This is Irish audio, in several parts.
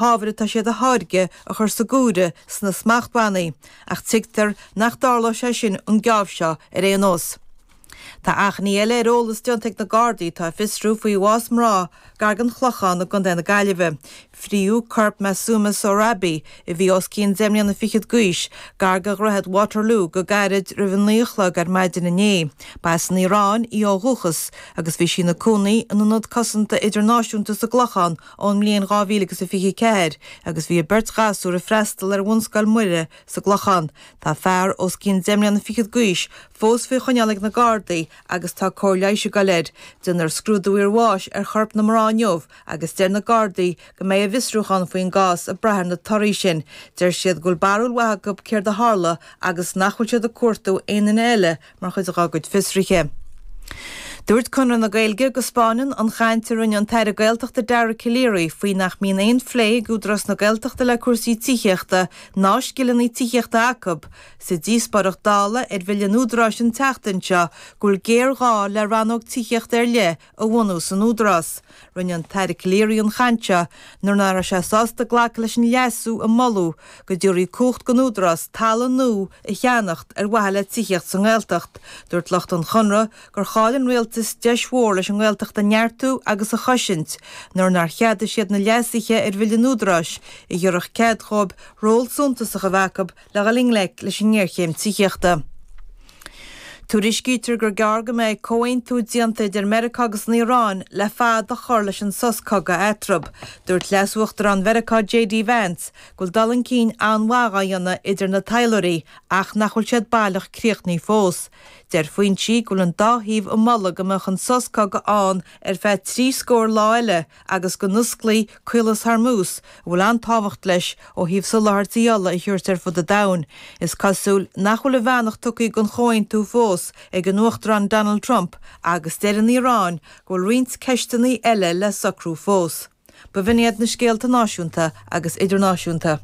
hábhair atá siad a tháirgeadh a chur sa gcomhaireamh sna smachtbhannaí, ach tuigtear nach dtarlóidh sé sin an geábh seo ar aon nós. Tá achainí eile ar eolas déanta ag na Gardaí atá ag fiosrú faoi bhás mná gar don Chlochán i gContae na Gaillimhe. Fríodh corp Masuma Sohrabi, a bhí os cionn deich mbliana fichead d'aois, gar do dhroichead Waterloo go gairid roimh a 9 a chlog ar maidin inné. Ba as an Iaráin í ó dhúchas agus bhí sí ina cónaí in Ionad Cosanta Idirnáisiúnta sa gClochán ón mbliain 2024 agus bhí a beirt ghasúr ag freastal ar Bhunscoil Mhuire sa gClochán. Tá fear os cionn deich mbliana fichead d'aois fós faoi choinneáil ag na Gardaí agus tá cóir leighis ag dul air. Déanfar scrúdú iarbháis ar chorp na mná inniu agus deir na Gardaí go mbeidh a bhfiosrúchán faoin gcás ag brath ar na torthaí sin. Deir siad go bhfuil barúil mhaith acu céard a tharla agus nach bhfuil siad ag cuartú aon duine eile mar chuid dá gcuid fiosruithe. Dúirt Conradh na Gaeilge go 'spáineann an chaint a rinne an tAire Gaeltachta Dara Calleary faoi nach mbíonn aon phlé ag Údarás na Gaeltachta le cúrsaí tithíochta ná scileanna tithíochta acu sa díospóireacht Dála ar Bhille an Údaráis an tseachtain seo go bhfuil géarghá le rannóg tithíochta ar leith a bhunú san Údarás. Rinne an tAire Calleary an chaint seo nuair nach raibh sé sásta glacadh leis an leasú a moladh go dtabharfaí cumhacht don Údarás talamh nua a cheannacht ar mhaithe le tithíocht sa nGaeltacht. Dúirt lucht an Chonradh gur chaill an Rialtas deis mhór leis an nGaeltacht a neartú agus a chosaint nuair nár cheadaigh siad na leasuithe ar Bhille an Údaráis a thabharfadh cead dhóibh ról suntasach a bheith acu le dhul i ngleic leis an ngéarchéim tithíochta. Tuairiscítear gur gearr go mbeidh comhaontú déanta idir Meiriceá agus an Iaráin le fad a chur leis an sos cogaidh eatarthu. Dúirt Leas-Uachtarán Mheiriceá JD Vance go bhfuil dul chun cinn an-mhaith á dhéanamh idir na taidhleoirí ach nach bhfuil siad baileach críochnaithe fós. Deir foinsí go bhfuil an dá thaobh ag moladh go mbeadh an sos cogaidh ann ar feadh 30 scór lá eile agus go n-osclaí Caolas Hormuz, a bhfuil an-tábhacht leis ó thaobh soláthairtí ola a thabhairt ar fud an domhain. Is cosúil nach bhfuil a bheannacht tugtha don chomhaontú fós ag an Uachtarán Donald Trump agus deir an Iaráin go bhfuil roinnt ceisteanna eile le socrú fós. B'in iad na scéalta náisiúnta agus idirnáisiúnta.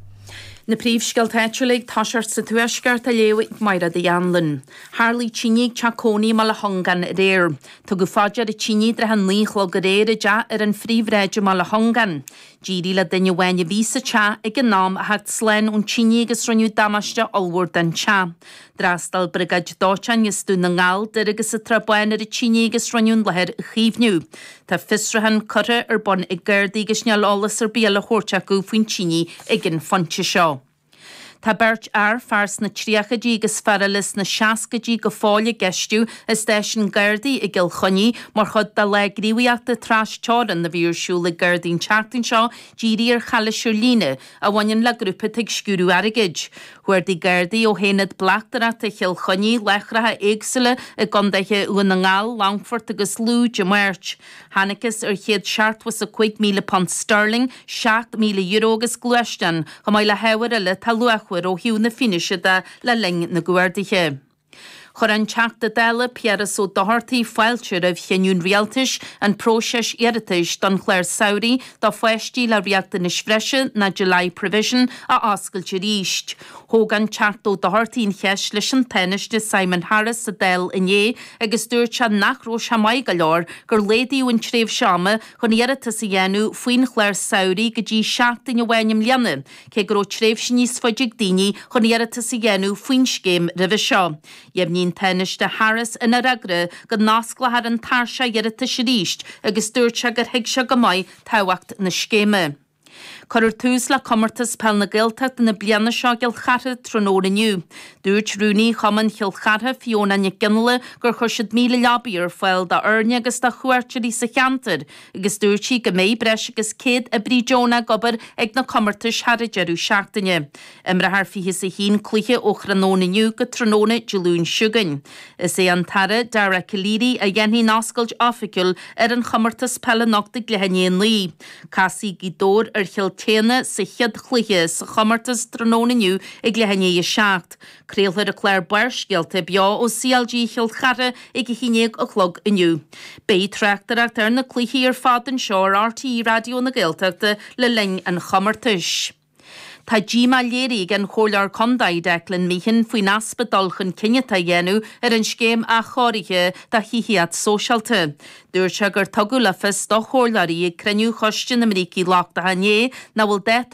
Na príomhscéalta áitiúla ag toiseacht sa Tuaisceart á léamh ag Mairéad Uí Anluain. Tharlaigh tine ag teach cónaí i mBaile Chongáin aréir. Tugadh fá dear an tine i dtrátha a 9 a chlog aréir i dteach ar an Phríomhshráid i mBaile Chongáin. D'éirigh le duine amháin a bhí sa teach ag an am a theacht slán ón tine agus rinneadh damáiste ollmhór don teach. D'fhreastail Briogáid Dóiteáin as Dún na nGall, Doire agus an tSrath Bán ar an tine agus rinneadh an láthair a chaomhnú. Tá fiosrúchán curtha ar bun ag Gardaí agus níl eolas ar bith eile á thabhairt acu faoin tine ag an phointe seo. Tá beirt fhear, fear sna tríochaidí agus fear eile sna seascaidí, go fóill á gceistiú i stáisiún Gardaí i gCill Chainnigh mar chuid de lá gníomhaíochta tras-teorann a bhí ar siúl ag Gardaí an tseachtain seo dírithe ar chalaois ar líne a bhaineann le grúpa atá ag sciúradh airgid. Chuardaigh Gardaí ó hAonad Bleachtaireachta Chill Chainnigh láithreacha éagsúla i gcontaetha Dhún na nGall, Longfort agus Lú Dé Máirt. Thángthas ar £175,000 sterling, €7,000 agus gluaisteán, chomh maith le hábhair eile atá luachmhar ó thaobh na fianaise de le linn na gcuarduithe. Chuir an Teachta Dála Piaras Ó Dochartaigh fáilte roimh chinneadh an Rialtais an próiseas iarratais don chlár samhraidh do pháistí le riachtanais bhreise nó Delay Provision a oscailt arís. Thóg an Teachta Ó Dochartaigh an cheist leis an Tánaiste Simon Harris sa Dáil inné agus dúirt sé nach raibh sé maith go leor gur laghdaíodh an tréimhse ama chun iarratas a dhéanamh faoin chlár samhraidh go dtí seachtain amháin i mbliana, cé go raibh tréimhse níos faide ag daoine chun iarratas a dhéanamh faoin scéim roimhe seo. Dheimhnigh an Tánaiste Harris ina fhreagra go n-osclófar an tairseach iarratais arís agus dúirt sé gur thuig sé go maith tábhacht na scéime. Cuirfear tús le Comórtas Peil na Gaeltachta na bliana seo i gCill Chartha tráthnóna inniu. Dúirt Rúnaí Chumann Chill Chartha, Fiona Nic Fhionnghaile, gur chuir siad 1,000 leabaidh ar fáil d'fhoirne agus do chuairteoirí sa cheantar agus dúirt sí go mbeidh breis agus 100 oibrí deonach ag obair ag na comórtais thar an deireadh seachtaine. Imreofar 21 cluiche ó thráthnóna inniu go tráthnóna Dé Luain seo chugainn. Is é an tAire Dara Calleary a dhéanfaidh an oscailt oifigiúil ar an chomórtas peile anocht ag leath i ndiaidh a 9. Casfaidh Gaoth Dobhair ar Chill tSéadhna sa chéad chluiche sa chomórtas tráthnóna inniu ag leath i ndiaidh a 7. Craolfar an clár Barrscéalta beo ó CLG Chill Chartha ag a 11 a chlog inniu. Beidh tráchtaireacht ar na cluichí ar fad anseo ar RTÉ Raidió na Gaeltachta le linn an chomórtais. Tá díomá léirithe ag an Chomhairleoir Contae Declan Meehan faoin easpa dul chun cinn atá á dhéanamh ar an scéim athchóirithe do thithíocht sóisialta. Dúirt sé gur tugadh le fios do chomhairleoirí ag cruinniú Choiste na mBrící Lochtacha inné nach bhfuil dáta.